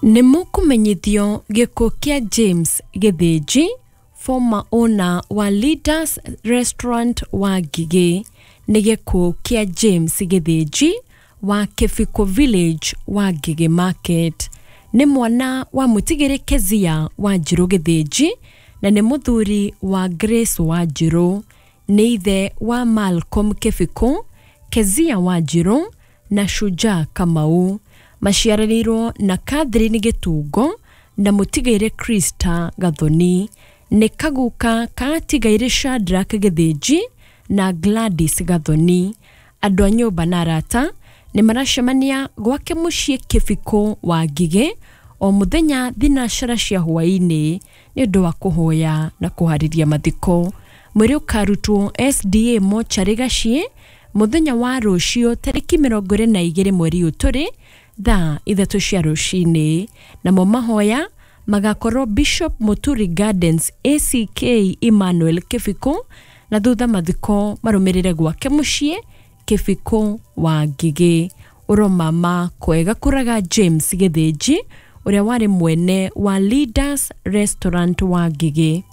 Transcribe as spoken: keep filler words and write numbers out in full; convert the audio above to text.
Nĩ mũkũmenyithio gĩkuũ kĩa James Gĩthĩnji, former owner wa Leaders Restaurant wa Ngigĩ. Nĩ gĩkuũ kĩa James Gĩthĩnji wa Kĩbiko Village wa Ngigĩ Market. Nĩ mwana wa mũtigĩrĩ Kezia Wanjirũ Gĩthĩnji na nĩ mũthuri wa Grace Wanjirũ. Nĩ ithe wa Malcolm Kĩbiko, Kezia Wanjirũ na Shujaa Kamau. Maciaranĩirwo na Catherine Gĩtungo na mũtigairĩ Krista Gathoni. Nĩ kaguka ka atigairĩ Shadrack Gĩthĩnji na Gladys Gathoni. Andũ a nyũmba na arata nĩ maracemania gwake mũciĩ Kĩbiko wa Ngigĩ o mũthenya thinacara cia hwaĩ-inĩ nĩ ũndũ wa kũhoya na kũharĩria mathiko. Mwĩrĩ ũkarutwo S D A mocarĩ Gaciĩ mũthenya wa rũciũ tarĩki mĩrongo ĩrĩ na igĩrĩ mweri ũyũ tũrĩ thaa ithatũ cia rũcinĩ. Namo mahoya magakorwo Bishop Muturi Gardens A C K Emmanuel Kĩbiko na thutha mathiko marũmĩrĩre gwake mũciĩ Kĩbiko wa Ngigĩ. Ũromama kwega kũraga James Gĩthĩnji ũrĩa warĩ mwene wa Leaders Restaurant wa Ngigĩ.